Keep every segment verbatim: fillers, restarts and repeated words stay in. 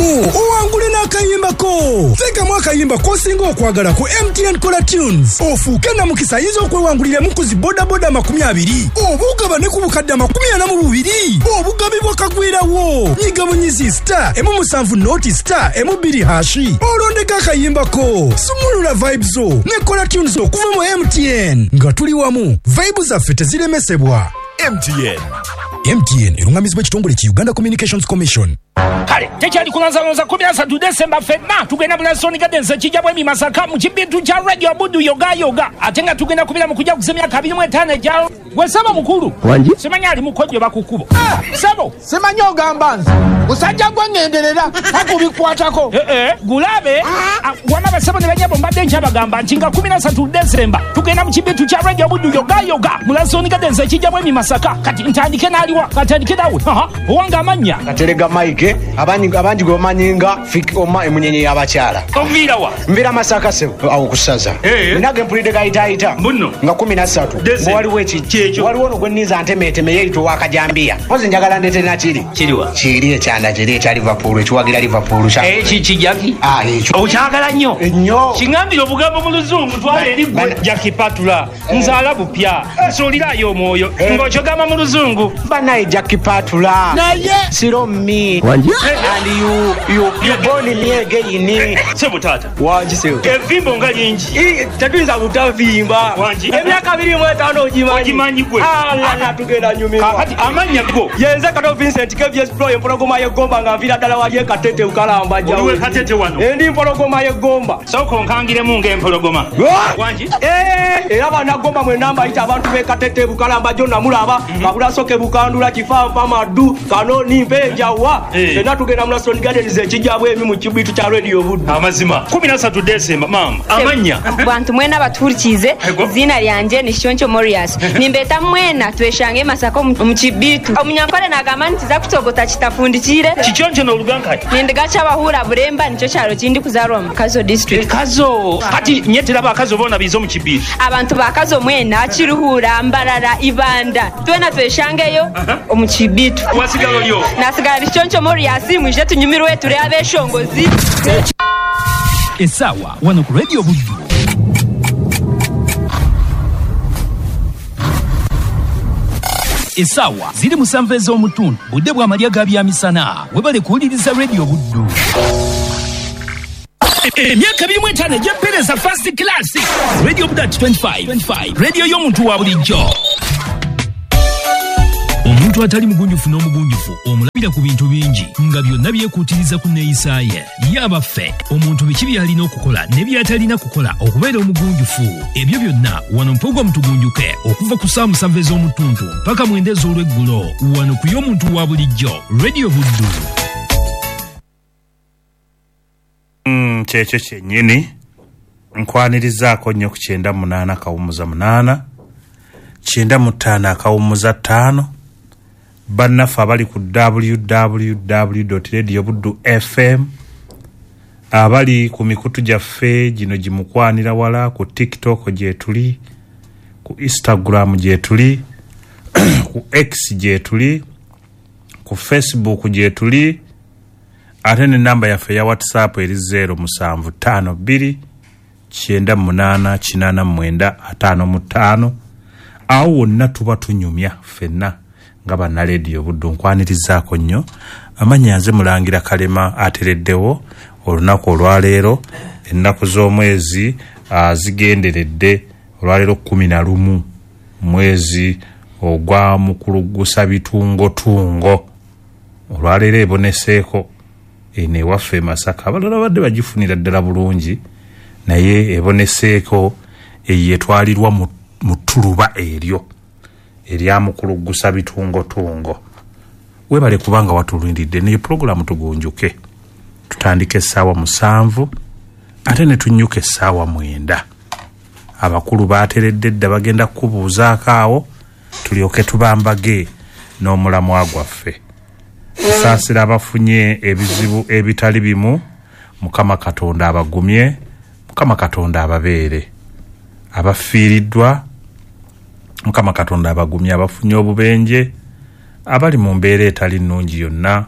Nyigiramu owangule n'akayimbako. Teekamu akayimba k'osinga okwagala ku M T N Kola Tunes, ofuuke namukisa ayinza okwewanguliramu ku zi bodaboda amakumi abiri, oba ogabane ku bukadde amakumi ana mu bubiri, obugabi bwakagwirawo. Nyiga bunyizi star emu musanvu noti star emu bbiri hashi, olondeko akayimbako. Sumulula vibes zo ne Kola Tunes okuva mu M T N. Nga tuli wamu, vibe zaffe teziremesebwa. M T N. M T N erungamizibwa ekitongole ki Uganda Communications Commission. Kale tekyali kulonzalonza kumi na ssatu Desemba ffenna tugenda Bulasoni Gardens ekijja bwemi Masaka mu kibintu kya Radio Buddu yoga yoga, ate nga tugenda kubira mu kujja kuza emyaka abiri mu etaano egya gwe ssebo mukulu. Wangi? Simanyi ali mukojjo bakukubo. Ssebo. Simanyi ogamba nze musajja gwe ŋŋenderera takubikwatako. Eh eh, gulabe wama basebo ne banyabo mbadde nkyabagamba nti nga kumi na ssatu Desemba tugenda mu kibintu kya Radio Buddu yoga yoga Bulasoni Gardens ekijja bwemi Masaka. Kati ntandike n'aliwa, katandike nawe. Aha, owange amannya. Katerega Mike, abangi abangi gwe bamanyi nga Fik Oma emunyenye y'abakyala. Onviira wa? Nviira Masaka ssebo, awo ku ssaza. Nage mpulidde gayitaayita. Mbuno. Nga kumi na ssatu. Waliwo eki? Waliwo ono gwe nninza ntemeeteme yeeyita ow'akajambiya. Mpozi njagala ndeete nakiri. Kiriwa? Kiri ekyanda kiri ekya Liverpool, ekiwagira Liverpool. Eki ki Jackie? Ah, ekyo. Okyagala nnyo? Ennyo. Kiŋŋambire obugambo mu Luzungu twala eri ggwe. Jackie Patula, nzaala bupya, nsuulirayo omwoyo. Ng'okyogamba mu Luzungu. Banaye Jackie Patula. Naye. Siro me. Wangi? And you, you, you born me again. Sebo taata. Wangi sebo. Evimbo nga lingi. Tetuyinza butavimba. Wangi. Emyaka abiri mu etaano ogimanyi. Ogimanyi gwe. Alala tugenda nyumirwa. Kakati amannya go. Yenze Kato Vincent K V S Pro empologoma y'eggomba nga nviira ddala wali e Katete Bukalamba jjawo. Oliwe Katete wano. Endi mpologoma y'eggomba. Sooka onkangiremu ng'empologoma. Wangi. Eh, era bannagomba mwenna mbayita abantu b'e Katete Bukalamba gyonna mulaba. Kabulasoke Bukandula Kifampa Maddu Kanoni Mpenjawa. Fenna tugenda Bulasoni Gardens ekijja bwemi mu kibitu kya Radio Buddu. Amazima. kumi na ssatu Desemba maama. Amannya. Bantu mwena batuhurikize izina lyanje ni Shoncho Morias. Nimbeta mwena tweshange Masaka mu kibitu. Omunyankole nagamba nti za kutogota kitafundikire. Kichoncho n'oluganka. Nindigacha abahura Buremba nicyo kyaro kindi kuzarwa mu Kazo district. Kazo. Kati nyetera bakazo bona bizo mu kibitu. Abantu bakazo mwena Kiruhura Mbarara Ibanda. Twena tweshangeyo omu kibitu. Wasigalo lyo. Nasigala Shoncho Morias mwije tunyumirwe turi abeshongozi. Esawa wano ku Radio Buddu. Esawa ziri musanvu ez'omutundu budde bw'amalya ga byamisana. Webale kuwuliriza Radio Buddu. Emyaka abiri mu etaano egy'empeereza first class. Radio Buddu at twenty-five twenty-five. Radio y'omuntu wa bulijjo. Omuntu atali mugunjufu n'omugunjufu omulabira ku bintu bingi nga byonna byekuutiriza ku nneeyisa ye. Ye abaffe, omuntu biki by'alina okukola ne by'atalina kukola okubeera omugunjufu. Ebyo byonna wano mpogwa mutugunjuke okuva ku ssaawa musanvu ez'omutuntu mpaka mwenda ez'olweggulo wano ku y'omuntu wa bulijjo Radio Buddu. Mm, kyekyo kyennyini nkwanirizaako nnyo ku kyenda munaana akawummuza munaana kyenda mu ttaano akawummuza ttaano. Bannaffe abali ku w w w dot radio buddu f m, abali ku mikutu gyaffe gino gimukwanira wala, ku TikTok gyetuli, ku Instagram gyetuli, ku X gyetuli, ku Facebook gyetuli, ate n'ennamba yaffe ya WhatsApp eri zero musanvu ttaano bbiri kyenda munaana kinaana mwenda ataano mu ttaano. Awo wonna tuba tunyumya ffenna nga banna Radio Buddu. Nkwanirizaako nnyo. Amannya nze Mulangira Kalema atereddewo olunaku olwaleero. Ennaku z'omwezi zigenderedde olwaleero kkumi na lumu mwezi ogwa mukulugusa bitungotungo. Olwaleero eboneseeko eno ewaffe e Masaka. Abalala badde bagifunira ddala bulungi, naye eboneseeko eyo etwalirwa mu ttuluba eryo erya mukulugusa bitungotungo. Webale kubanga watulindiridde naye pulogulaamu tugunjuke. Tutandike essaawa musanvu ate ne tunnyuka essaawa mwenda. Abakulu baateredde dda bagenda kukubuuzaako awo tulyoke tubambage n'omulamwa gwaffe. Tusaasira abafunye ebizibu ebitali bimu. Mukama Katonda abagumye, Mukama Katonda ababeere. Abafiiriddwa Mukama Katonda abagumye, abafunye obubenje, abali mu mbeera etali nnungi yonna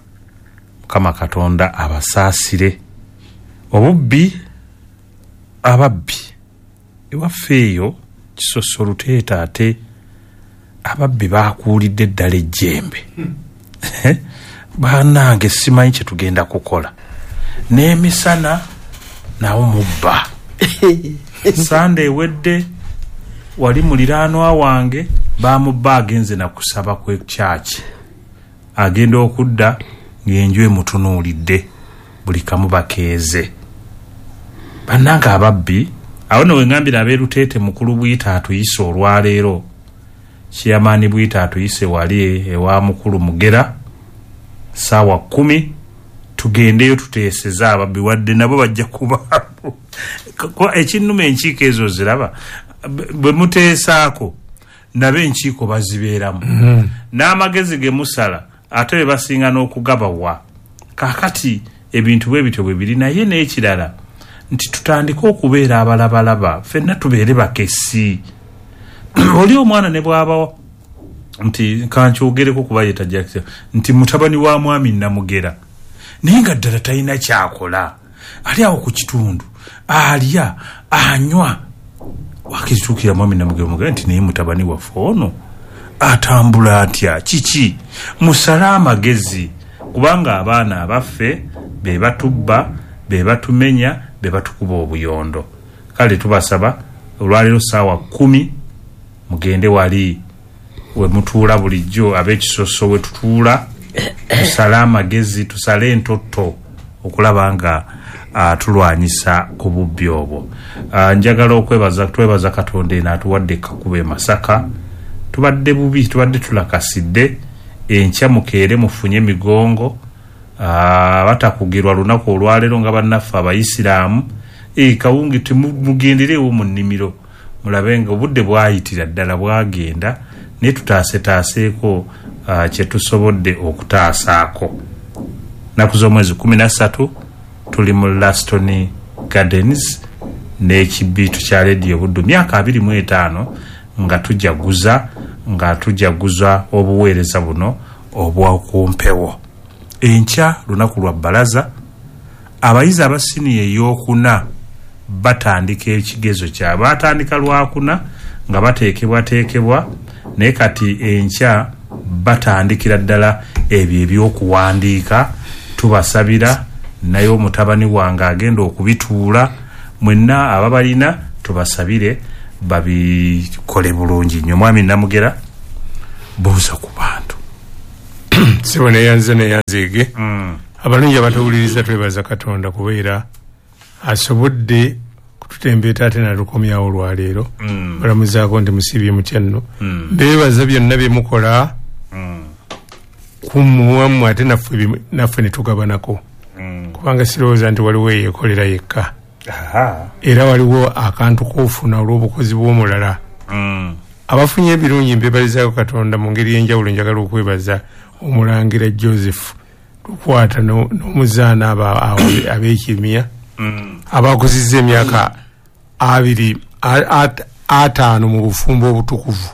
Mukama Katonda abasaasire. Obubbi, ababbi ewaffe eyo Kisoso Luteeta, ate ababbi bakuulidde ddala ejjembe. Bannange simanyi kye tugenda kukola. N'emisana nawo mubba. Sande ewedde wali muliraanwa wange bamubba, agenze nakusaba kwe kyaki, agenda okudda ng'enju emutunuulidde, buli kamu bakeeze. Bannange ababbi awo nno wengambira ab'e Luteete, mukulu Bwita atuyise olwaleero, Kiyamaani Bwita atuyise wali ewa mukulu Mugera saawa kumi, tugendeyo tuteeseze ababbi, wadde nabo bajja kubaamu. Ekinnuma enkiiko ezo ziraba bwe muteesaako nabo enkiiko bazibeeramu, n'amagezi ge musala ate be basinga n'okugabawa. Kaakati ebintu bwe bityo bwe biri. Naye n'ekirala nti tutandike okubeera abalabalaba, ffenna tubeere bakessi. Oli omwana ne bw'abawo nti kankyogereko kuba ye tajja nti mutabani wa mwami Namugera, naye nga ddala talina kyakola, ali awo ku kitundu alya anywa. Wakituukira mwami Namugera mugera nti naye mutabani waffe ono atambula atya, kiki? Musale amagezi, kubanga abaana abaffe be batubba, be batumenya, be batukuba obuyondo. Kale tubasaba olwaleero saawa kumi mugende wali we mutuula bulijjo, ab'Ekisoso we tutuula, tusale amagezi, tusale entotto okulaba nga uh, tulwanyisa ku bubbi obwo. uh, Njagala okwebaza, twebaza Katonda eno atuwadde ekkakuba e Masaka. Tubadde bubi, tubadde tulakasidde. Enkya mukeere mufunye emigongo, uh, batakugirwa lunaku olwaleero nga bannaffe abayisiraamu. E, kawungi mugenderewo mu nnimiro mulabe nga obudde bwayitira ddala bwagenda, naye tutaasetaaseeko uh, kye tusobodde okutaasaako. Nnaku z'omwezi kumi na ssatu tuli mu Laston Gardens n'ekibiitu kya Rediyo Buddu, myaka abiri mu etaano nga tujaguza nga tujaguza obuweereza buno obwakumpewo. Enkya lunaku lwa bbalaza, abayizi aba siniya ey'okuna batandika ekigezo kyabwe. Batandika lwakuna nga bateekebwateekebwa, naye kati enkya batandikira ddala ebyo ebyokuwandiika. Tubasabira, naye omutabani wange agenda okubituula, mwenna ababalina tubasabire babikole bulungi nnyo. Mwami Namugera, buuza ku bantu. Sebo neyanze neyanzeege. Abalungi abatuwuliriza, twebaza Katonda kubeera asobodde kututembeeta ate natukomyawo olwaleero. Balamuzaako nti musiibye mutya nno. Mbeebaza byonna bye mukola kumuwamu ate naffe naffe ne tugabanako, kubanga sirowooza nti waliwo eyeekolera yekka, era waliwo akantu k'ofuna olw'obukozi bw'omulala. Abafunye ebirungi mbebalizaako Katonda mu ngeri y'enjawulo. Njagala okwebaza omulangira Joseph Lukwata n'omuzaana ab'ekimya abakuzizza emyaka abiri ataano mu bufumbo obutukuvu.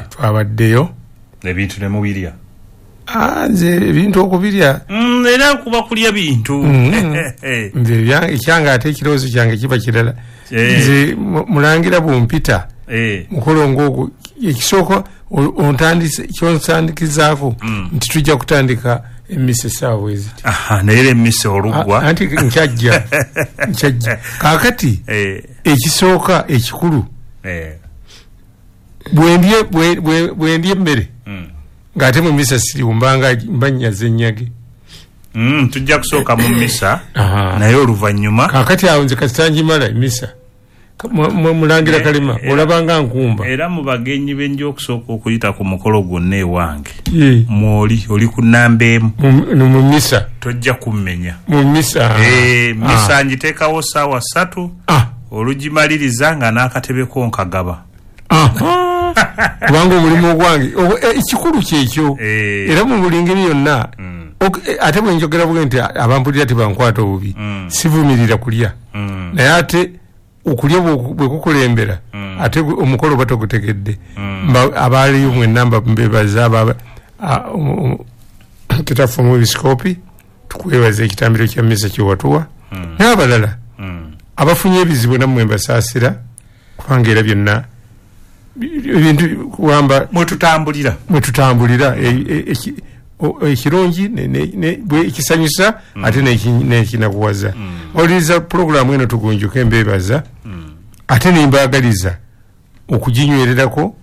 Twabaddeyo ebintu ne mubirya. Nze ebintu okubirya era kuba kulya bintu. Nze ekyange ate ekirowoozo kyange kiba kirala. Nze mulangira bw'ompita mukolo ng'ogwo, ekisooka kyonsandikizaako nti tujja kutandika emmisa essaawa bwe ziti. Naye era emmisa oluggwa anti nkyajja nkyajja. Kaakati ekisooka ekikulu, bwe ndya emmere ng'ate mu misa siriwo, mbanga mba nnyaza ennyage. Tujja kusooka mu misa naye oluvannyuma. Kaakati awo nze kasita ngimala emisa, mulangira Kalema olabanga nkumba. Era mu bagenyi benja okusooka okuyita ku mukolo gwonna ewange mwoli oli ku nnamba emu mu misa, tojja kummenya mu misa. Misa ngiteekawo ssaawa ssatu, olugimaliriza nga n'akatebe ko nkagaba. Kubanga omulimu ogwange ekikulu kyekyo, era mu buli ngeri yonna. Ate bwe njogera bwe nti abampulira tebankwata obubi, sivumirira kulya, naye ate okulya bwe kukulembera ate omukolo oba togutegedde. Abaaliyo mwenna mbebaza, Kitaffe omwepiskoopi, tukwebaza ekitambiro kya mmisa kyewatuwa, n'abalala abafunye ebizibu nammwe mbasaasira, kubanga era byonna ebintu kuwamba mwetutambulira mwetutambulira ekirungi ekisanyusa ate n'ekinakuwaza. Oliriza pulogulaamu eno tugunjuke, mbeebaza ate nembaagaliza okuginywererako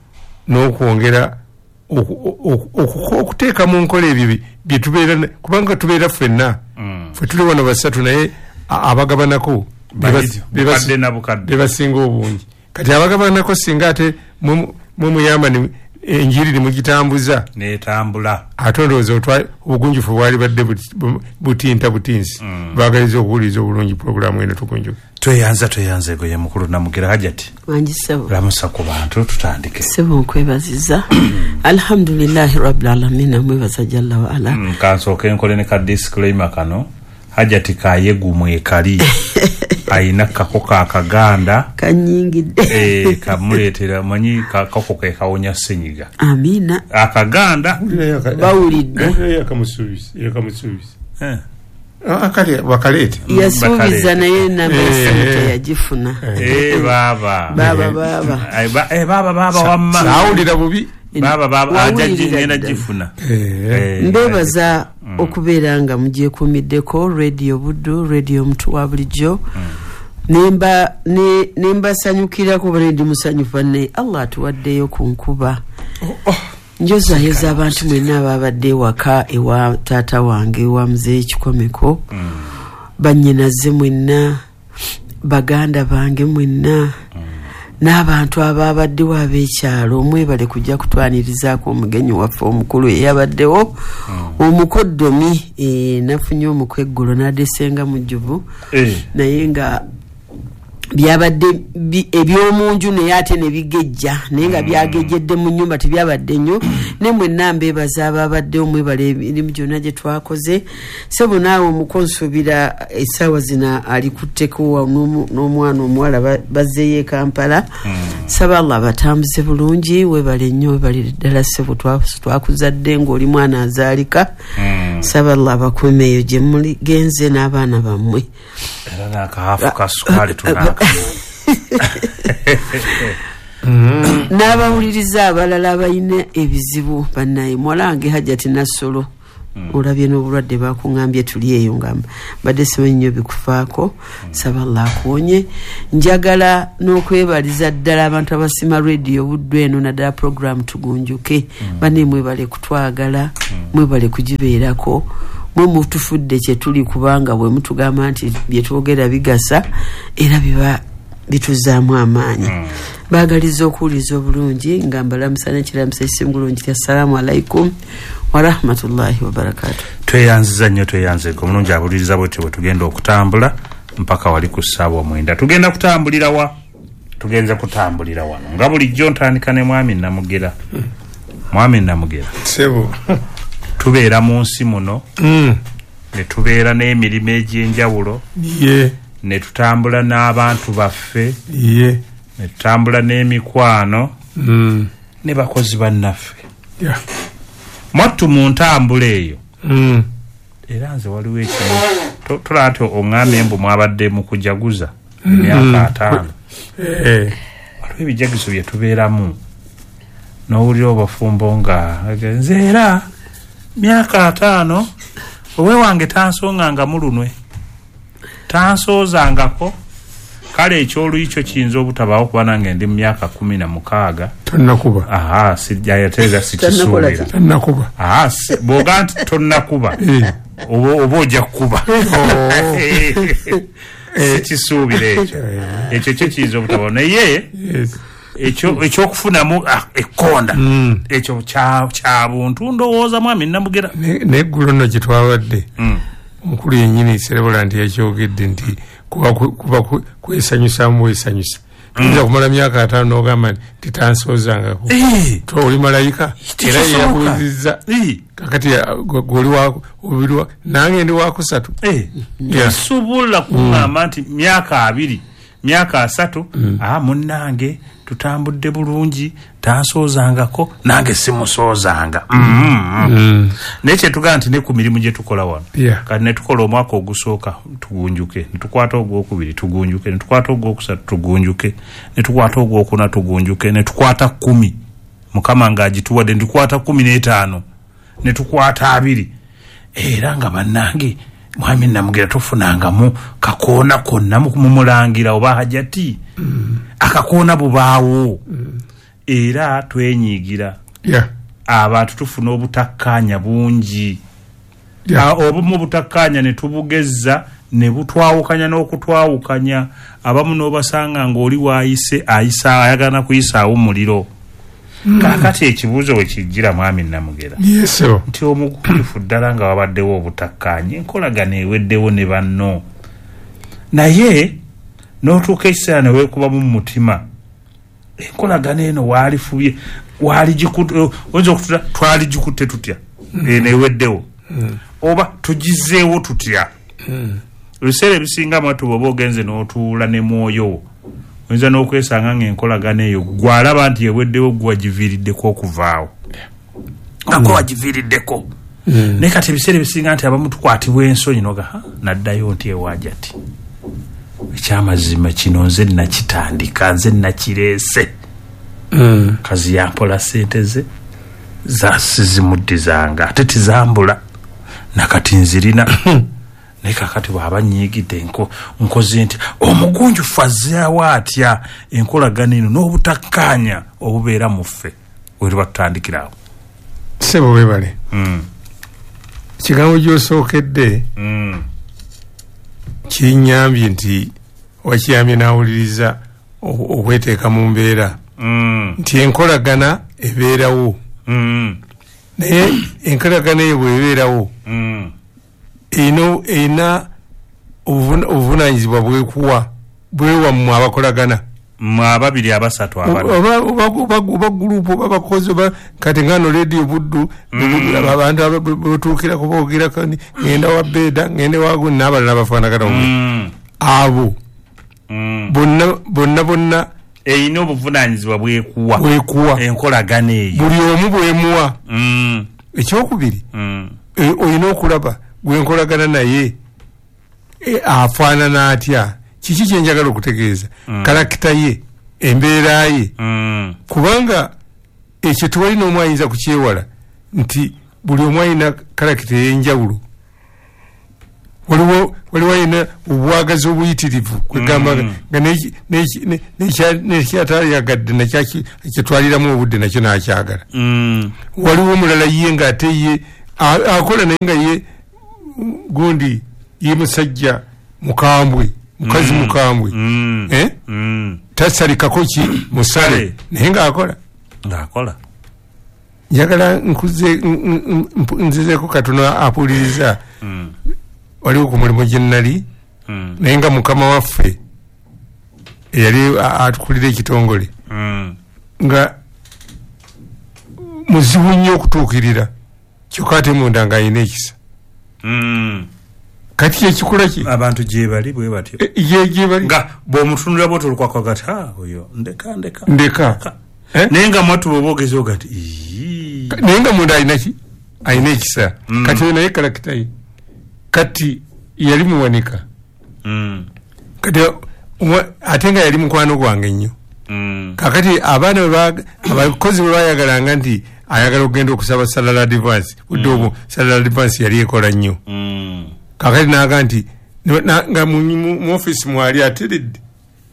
n'okwongera okuteeka mu nkola ebyo bye tubeera, kubanga tubeera ffenna, ffe tuli wano basatu, naye abagabanako be basinga obungi. Kati abagabanako singa ate mwe muyamba enjiri ne mugitambuza netambula, ate ndowooza obugunjufu bwali badde butinta butinsi. Baagaliza okuwuliriza obulungi pulogulaamu eno tugunjuke. Tweyanza tweyanza ego ye mukulu Namugera Hajati. Wangi ssebo. Lamusa ku bantu tutandike. Ssebo nkwebaziza. Alhamdulillahi rabbil alamin, mwebaza jalla wa ala. Mm, kansooke nkole ne ka disclaimer kano. Hajati kayegumwe kali ayina kako akaganda kanyingidde eh kamuleetera manyi kako ke kawonya ssenyiga. Amina. Akaganda bawulidde yakamusuubisa yakamusuubisa eh akali wakalete yasuubiza naye namba esente yagifuna. Eh baba baba baba eh baba baba wamma saawulira bubi baba baba ajaji ngenda gifuna. Mbebaza okubeera nga mugyekuumiddeko Radio Buddu, Radio Mutu wa bulijjo. Nemba ne nembasanyukirako bale ndi musanyufu ne Allah atuwaddeyo ku nkuba. Njozayoza abantu mwenna ababadde ewaka ewa taata wange ewa Muzeeyi Kikomeko, bannyinaze mwenna, baganda bange mwenna, n'abantu ababaddewo ab'ekyalo, mwebale kujja kutwanirizaako omugenyi waffe omukulu eyabaddewo omukoddomi. Nafunye omukwe eggulo n'adesenga mujjuvu, naye nga byabadde ebyomunju naye ate ne bigejja, naye nga byagejjedde mu nnyumba tebyabadde nnyo. Ne mwenna mbeebaza ababaddewo, mwebale emirimu gyonna gye twakoze. Ssebo naawe omukonsuubira essaawa zino alikutteko n'omwana omuwala bazzeeyo e Kampala. Saba Allah abatambuze bulungi, weebale nnyo, weebalire ddala ssebo, twakuzadde ng'oli mwana azaalika. Saba Allah abakuume eyo gye muligenze n'abaana bammwe. Era n'akaafu ka sukaali tunaaka. N'abawuliriza abalala abalina ebizibu bannaye. Muwala wange Hajati Nassolo, olabye n'obulwadde bakuŋŋambye tuli eyo nga mbadde simanyi nnyo bikufaako. Saba Allah akuwonye. Njagala n'okwebaliza ddala abantu abasima Radio Buddu eno naddala pulogulaamu tugunjuke. Banne mwebale kutwagala, mwebale kugibeerako, mwe mutufudde kye tuli, kubanga bwe mutugamba nti bye twogera bigasa era biba bituzaamu amaanyi. Baagaliza okuwuliza obulungi nga mbalamusa n'ekiramusa ekisinga obulungi. Assalamu alaikum warahmatullahi wabarakatuh. Tweyanziza nnyo, tweyanze omulungi abuliriza bwetyo bwe tugenda okutambula mpaka wali ku ssaawa mwenda. Tugenda kutambulira wa? Tugenza kutambulira wano nga bulijjo ntandika ne mwami Namugera. Mwami Namugera ssebo, tubeera mu nsi muno ne tubeera n'emirimu egy'enjawulo, ne tutambula n'abantu baffe, ne tutambula n'emikwano ne bakozi bannaffe. Mwattu mu ntambula eyo era nze waliwo ekimu tolaba nti oŋŋambye mbu mwabadde mu kujaguza emyaka ataano. Waliwo ebijagizo bye tubeeramu n'owulira obufumbo nga nze era myaka ataano owe wange tansonganga mu lunwe, tansoozangako. Kale ekyoluyi kyo kiyinza obutabaawo kuba nange ndi mu myaka kumi na mukaaga. Tonnakuba. Aha, yateeza sikisuubira. Tonnakuba. Aha, bw'oga nti tonnakuba oba ojja kukuba. Sikisuubira ekyo. Ekyo kyo kiyinza obutabaawo naye ekyokufunamu ekkonda ekyo kya buntu ndowooza mwami Namugera. N'eggulo nno gye twabadde omukulu yennyini Serebula nti yakyogedde nti kuba kwesanyusaamu bwesanyusa. Tuyinza kumala myaka ataano n'ogamba nti tansoozangako. Oli malayika era yeyakuwulizza kakati gwe oli nange ndi wakusatu. Tosobola kuŋŋamba nti myaka abiri Myaka asatu mm. Ah, munnange tutambudde bulungi, tansoozangako nange simusoozanga. mm -hmm. mm. Naye kyetugamba nti ne ku mirimu gye tukola wano, yeah. Kati ne tukola omwaka ogusooka tugunjuke, ne tukwata ogwokubiri tugunjuke, ne tukwata ogwokusatu tugunjuke, ne tukwata ogwokuna tugunjuke, ne tukwata kkumi Mukama ng'agituwadde, ne tukwata kkumi n'etaano, ne tukwata abiri. Era nga bannange mwami Namugera tofunangamu kakoona konna mumulangira oba hajati mm. Akakoona bubaawo mm. Era twenyiigira, yeah. Abantu tufuna obutakkaanya bungi, yeah. Obumu obutakkaanya ne tubugezza ne butwawukanya n'okutwawukanya. Abamu n'obasanga ng'oli waayise ayisa ayagala kuyisaawo muliro. Mm. Kaakati ekibuuzo we kijjira mwami Namugera, yes, nti omugunjufu ddala nga wabaddewo obutakkaanya, enkolagano eweddewo ne banno, naye n'otuuka ekiseera ne weekubamu mu mutima, enkolagano eno waalifubye waligikutte, oyinza okutula twaligikutte tutya eno eweddewo, Mm. oba tugizeewo tutya? Mm. Ebiseera ebisinga mwatu bw'oba ogenze n'otuula ne mwoyo wo, oyinza n'okwesanga ng'enkolagano eyo gw'alaba nti eweddewo gwe wagiviiriddeko okuvaawo, nga gwe wagiviiriddeko. Mm. Naye kati ebiseera ebisinga nti abamu tukwatibwa ensonyi noga naddayo nti ewajati ekyamazima kino nze nakitandika, nze nakireese. Mm. Kazi yampola ssente ze zasizimuddizanga ate tizambula nakati nzirina. Naye kakati bw'aba nyiigidde nkoze nti omugunjufu azzeewo atya enkolagano eno n'obutakkaanya obubeera mu ffe we tuba tutandikirawo? Ssebo weebale. Mm. Ekigambo gy'osookedde mm. kinnyambye nti wakiyambye n'awuliriza okweteeka mu mbeera mm. nti enkolagana ebeerawo. Mm. Naye enkolagana eyo bw'ebeerawo mm. eno erina obuvunaanyizibwa bwekuwa bwewammwe abakolagana mmwe ababiri abasatu abana oba gurupu oba bakozi oba kati ngano Radio Buddu Mm. abantu batuukirako boogerako ngenda wa Beda ngende wagu n'abalala bafaanagana Mm. abo Mm. bonna bonna bonna erina obuvunaanyizibwa bwekuwa bwekuwa enkolagano eyo buli omu bwemuwa. Mm. Ekyokubiri Mm. e, olina okulaba gwenkolagana naye e, afaanana atya, kiki kyenjagala okutegeeza, Mm. karakita ye, embeera ye, Mm. kubanga ekyo tewali n'omu ayinza kukyewala nti buli omu alina karakita ey'enjawulo. Waliwo waliwo alina obwagazi obuyitirivu kwegamba Mm. nga nekyataliyagadde nakyo kyetwaliramu obudde nakyo n'akyagala. Mm. Waliwo omulala ye ng'ate ye akola naye nga ye gundi ye musajja mukambwe, mukazi Mm. mukambwe, Mm. eh? Mm. Tasalikako ki musale naye ng'akola ng'akola. Njagala nkuze nzizeeko katono apuuliriza. Mm. Waliwo ku mulimu gye nnali Mm. naye nga mukama waffe eyali atukulira ekitongole Mm. nga muzibu nnyo okutuukirira, kyokka ate munda ng'alina ekisa. Mm. Kati kyekikula ki abantu gye bali bwe batyo ye gye bali nga bw'omutunulira bw'otyo olukwakwaga ti oyo ndeka ndeka ndeka eh? Naye nga mwatu bw'oba ogeze oga nti ii. Naye nga munda alina ki alina ekisa. Mm. Kati oyo naye kalakita ye kati yali muwanika Mm. kati ate nga yali mukwano gwange nnyo. Mm. Kakati abaana abakozi bwe bayagalanga nti ayagala okugenda okusaba salary advance, budde obwo salary advance yali ekola nnyo. Mm. Kakati n'aga nti nga mu office mwali ateredde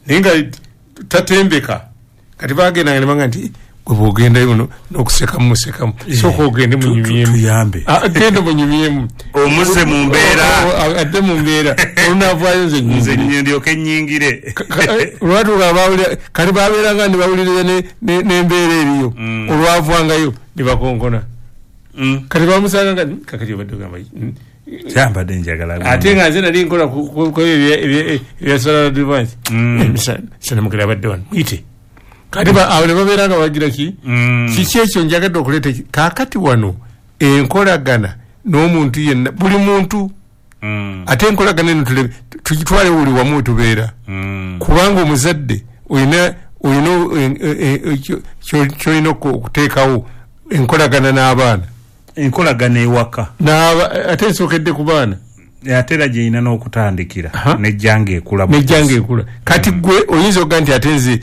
naye nga tatembeka. Kati bagendanga ne baga nti gwe bw'ogendayo n'okusekamu musekamu, sooka ogende munyumyemu, tuyambe genda munyumyemu omuze mu mbeera adde mu mbeera olunaavaayo nze nze ndyoke nnyingire. Olwatuuka bawulira kati babeeranga ne bawuliriza n'embeera eriyo, olwavangayo ne bakonkona. Kati bamusanga nga kakati obadde ogamba kyambadde njagala ate nga nze nali nkola ebya salary advance sanamukira abadde wano muyite. Kati awo ne babeera nga bagira ki kiki ekyo njagadde okuleeta kaakati wano enkolagana n'omuntu yenna buli muntu. Ate enkolagana eno Tugitwale buli wamu wetubeera. Kubanga omuzadde olina olina kyolina okuteekawo enkolagana n'abaana. Enkolagana ewaka. Ate ensookedde ku baana. Ate era gyerina n'okutandikira nejjanga ekula. Nejjanga ekula. Kati gwe oyinza okuga nti ate nze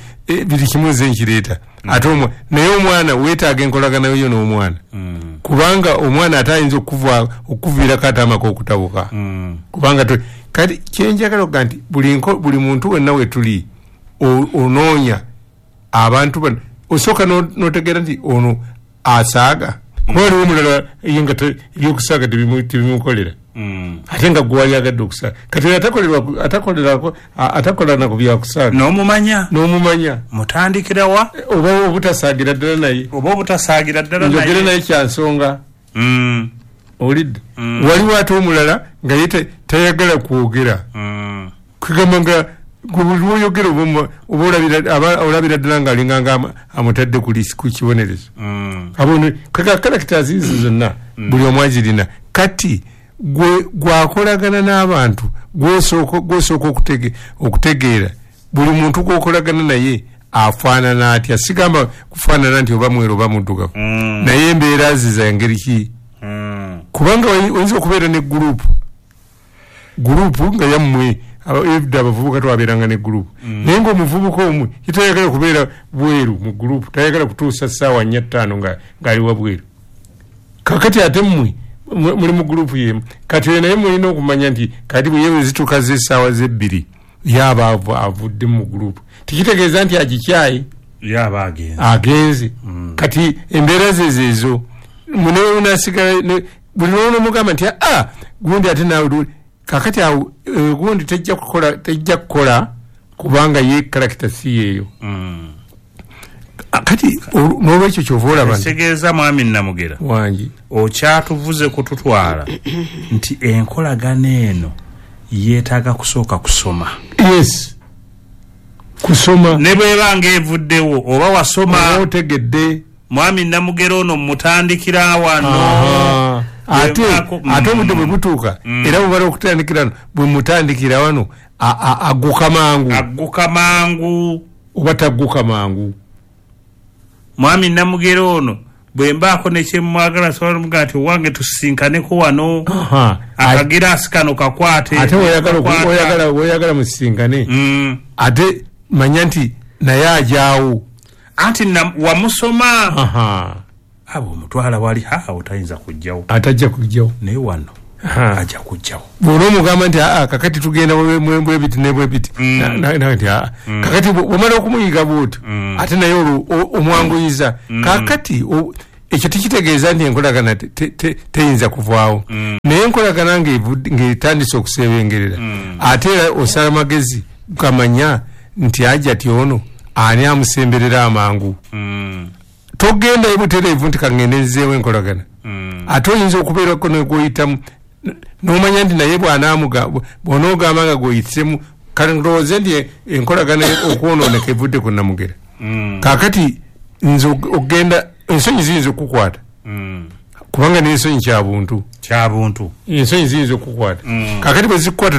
buli kimu nze nkireeta. Ate naye omwana weetaaga enkolagana yo n'omwana. Kubanga omwana ate ayinza okuviirako ate amaka okutabuka. Kubanga kati kyenjagala okuga nti buli muntu wenna we tuli onoonya abantu bano osooka n'otegeera nti ono asaaga. Kuba waliwo omulala ye nga ebyokusaaga tebimukolera. Ate nga gwe wali okusaaga. Kati atakolera ku byakusaaga. N'omumanya. N'omumanya. Mutandikira wa? Oba obutasaagira ddala naye. Oba obutasaagira ddala naye. Njogere naye kya nsonga. Owulidde? Waliwo ate omulala nga ye tayagala kwogera. Kugamba nga buli lw'oyogera oba olabira ddala ng'alinga nga amutadde ku kibonerezo. Characters ezo zonna buli omu azirina. Kati gwakolagana n'abantu gw'osooka okutegeera buli muntu gw'okolagana naye afaanana atya. Sigamba kufaanana nti oba mweru oba muddugavu, naye embeera ze za ngeri ki? Kubanga oyinza okubeera ne gurupu gurupu nga yammwe edda abavubuka twabeeranga ne gurupu, naye ng'omuvubuka omu tayagala kubeera bweru mu gurupu, tayagala kutuusa ssaawa nnya ttaano ng'ali wabweru. Kakati ate mmwe muli mu gurupu yemu, kati oyo naye mulina okumanya nti kati bwe yewe zituuka z'essaawa z'ebbiri yaba avudde mu gurupu, tekitegeeza nti agikyaye, yaba agenze agenze. Kati embeera ze zeezo munewe unasigala buli lw'onomugamba nti aa gundi ate naawe kakati awo gundi tejja kukola tejja kukola kubanga ye character si yeeyo. Kati n'olwekyo ky'ova olaba nti ekitegeeza mwami Namugera wangi okyatuvuze kututwala nti enkolagana eno yeetaaga kusooka kusoma. Yes, kusoma ne bw'eba ng'evuddewo oba wasoma oba otegedde. Mwami Namugera ono mutandikira wano ate ate obudde bwe butuuka era bwebala okutandikira wano bwe mutandikira wano agguka mangu agguka mangu oba tagguka mangu. Mwami Namugera ono bwe mbaako ne kyemwagala sobola omugaa nti owange tusisinkaneko wano akagiraasi kano kakwate ate weoyagala musisinkane ate manya nti naye ajaawo anti wamusoma abo omutwala wali awo tayinza kujjawo atajja kujjawo naye wano ajja kujjawo. Bw'onoomugamba nti aa kakati tugenda bwebiti ne bwebiti nti aa kakati bw'omala okumuyiga bw'otyo ate naye olwo omwanguyiza. Kakati ekyo tekitegeeza nti enkolagana teyinza kuvaawo, naye enkolagana ng'etandise okusebengerera ate era osala magezi gamanya nti ajja ti ono ani amusemberera amangu. Togenda ebutereevu nti kangende nzeewo enkolagana, ate oyinza okubeerako negwoyitamu n'omanya nti naye bw'onoogamba nga gwoyitsemu kale ndowooze nti enkolagana okwonooneka evudde ku Namugera. Kaakati nze ogenda ensonyi ziyinza okukukwata kubanga n'ensonyi kya buntu kya buntu ensonyi ziyinza okukukwata. Kaakati bwe zikukwata